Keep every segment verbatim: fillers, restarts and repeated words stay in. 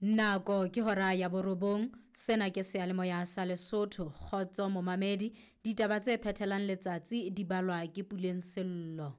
Nako ke hora ya borobong, sena ke seyalemoya sa Lesotho. Kgotso momamedi, ditaba tse phethelang letsatsi di balwa ke Puleng Sello.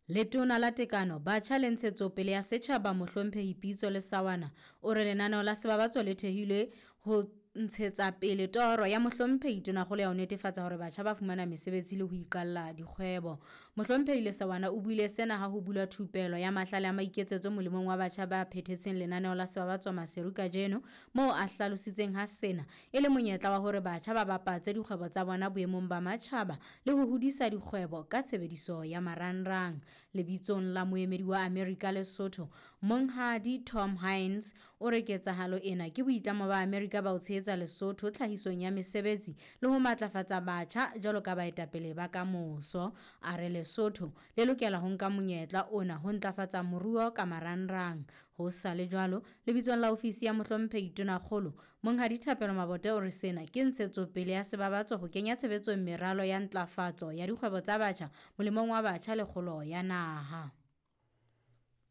Letona la Tekano, Batjha le Ntshetsopele ya Setjhaba Mohlomphehi Pitso Lesawana o re lenaneo la Sebabatso le thehilwe ho ntshetsa pele toro ya Mohlomphehi Tonakgolo ya ho netefatsa hore batjha ba fumana mesebetsi le ho iqalla dikgwebo. Mohlomphehi Lesawana o buile sena ha ho bulwa thupelo ya mahlale a maiketsetso molemong wa batjha ba phethetseng lenaneo la Sebabatso Maseru kajeno, moo a hlalositseng ha sena e le monyetla wa hore batjha ba bapatse dikgwebo tsa bona boemong ba matjhaba le ho hodisa dikgwebo ka tshebediso ya marangrang. Lebitsong la moemedi wa Amerika Lesotho, Monghadi Tom Hines o re ketsahalo ena ke boitlamo ba Amerika ba ho tshehetsa Lesotho tlhahisong ya mesebetsi le ho matlafatsa batjha jwalo ka baetapele ba kamoso. A re Lesotho le lokela ho nka monyetla ona ho ntlafatsa moruo ka marangrang. Ho sa le jwalo, lebitsong la ofisi ya Mohlomphehi Tonakgolo, Monghadi Thapelo Mabote o re sena ke ntshetsopele ya Sebabatso ho kenya tshebetsong meralo ya ntlafatso ya dikgwebo tsa batjha molemong wa batjha le kgolo ya naha.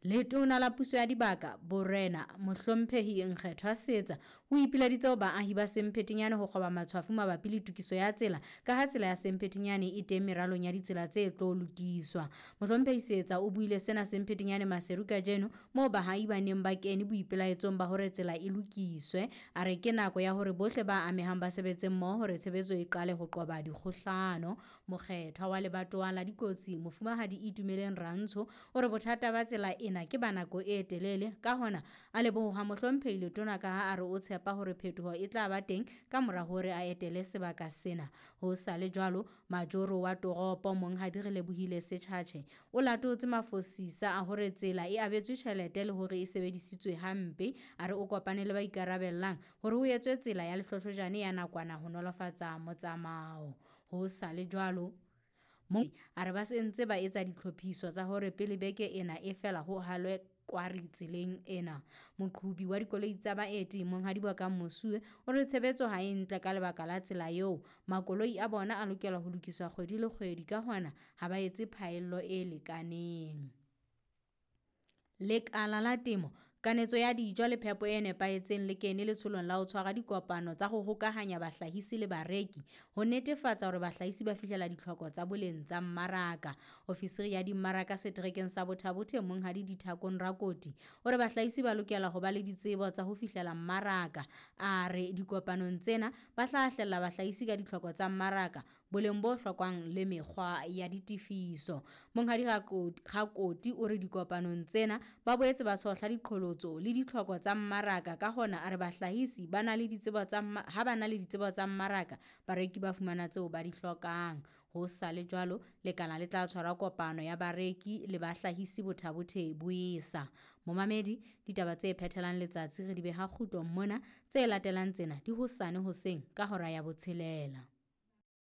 Letona la Puso ya Dibaka, Borena Mohlomphehi Nkgethwa Seetsa o ipileditse ho baahi ba Semphetenyane ho kgoba matshwafo mabapi le tokiso ya tsela ka ha tsela ya Semphetenyane e teng meralong ya ditsela tse tlo lokiswa. Mohlomphehi Seetsa o buile sena Semphetenyane Maseru kajeno moo baahi ba neng ba kene boipelaetsong ba hore tsela e lokiswe. A re ke nako ya hore bohle ba amehang ba sebetse mmoho hore tshebetso e qale ho qoba dikgohlano. Mokgethwa wa lebatowa la dikotsi Mofumahadi Itumeleng Rantsho o re bothata ba tsela ena ke ba nako e telele, ka hona a leboha Mohlomphehi Letona ka ha a re o tshepa hore phetoho e tla ba teng ka mora hore a etele sebaka sena. Ho sa le jwalo, majoro wa toropo Monghadi Relebohile Setjhatjhe o latotse mafosisa a hore tsela e abetswe tjhelete le hore e sebedisitswe hampe. A re o kopane le ba ikarabellang hore ho etswe tsela ya lehlohlojane ya nakwana ho nolofatsa motsamao. Ho sa le jwalo, a re ba se ntse ba etsa ditlhophiso tsa hore pele beke ena e fela ho halwe kwari tseleng ena. Moqhobi wa dikoloi tsa baeti Monghadi Bokang Mosuwe o re tshebetso ha e ntle ka lebaka la tsela eo makoloi a bona a lokela ho lokiswa kgwedi le kgwedi, ka hona ha ba etse phaello e lekaneng. Lekala la temo, kanetso ya dijo le phepo e nepahetseng le kene letsholong la ho tshwara dikopano tsa ho hokahanya bahlahisi le bareki ho netefatsa hore bahlahisi ba fihlela ditlhoko tsa boleng tsa mmaraka. Ofisiri ya dimmaraka seterekeng sa Botha-Bothe Monghadi Dithakong Rakoti o re bahlahisi ba lokela ho ba le ditsebo tsa ho fihlela mmaraka. A re dikopanong tsena ba hlahlella bahlahisi ka ditlhoko tsa mmaraka, boleng bo hlokwang le mekgwa ya ditefiso. Monghadi Rakoti o re dikopanong tsena ba boetse ba tshohla diqholotso le ditlhoko tsa mmaraka, ka hona a re bahlahisi ba na le ditsebo tsa ha ba na le ditsebo tsa mmaraka, bareki ba fumana tseo ba di hlokang. Ho sa le jwalo, lekala le tla tshwara kopano ya bareki le bahlahisi Botha-Bothe boesa. Momamedi, ditaba tse phethelang letsatsi re di beha kgutlong mona, tse latelang tsena di hosane hoseng ka hora ya botshelela.